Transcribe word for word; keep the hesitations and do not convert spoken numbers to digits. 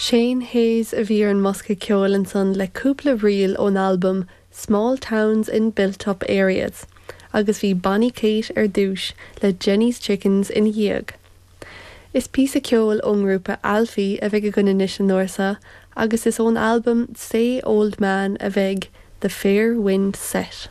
Shane Hayes a bhí ar an mbosca ceoil ansan le cúpla ríl ón albam Small Towns in Built-up Areas, agus bhí Bonnie Kate ar dtús le Jenny's Chickens ina dhiaidh. Is píosa ceoil ón ngrúpa Alfie a bheidh againn anois an uair seo agus is ón albam Say Old Man a bheidh The Fair Wind Set.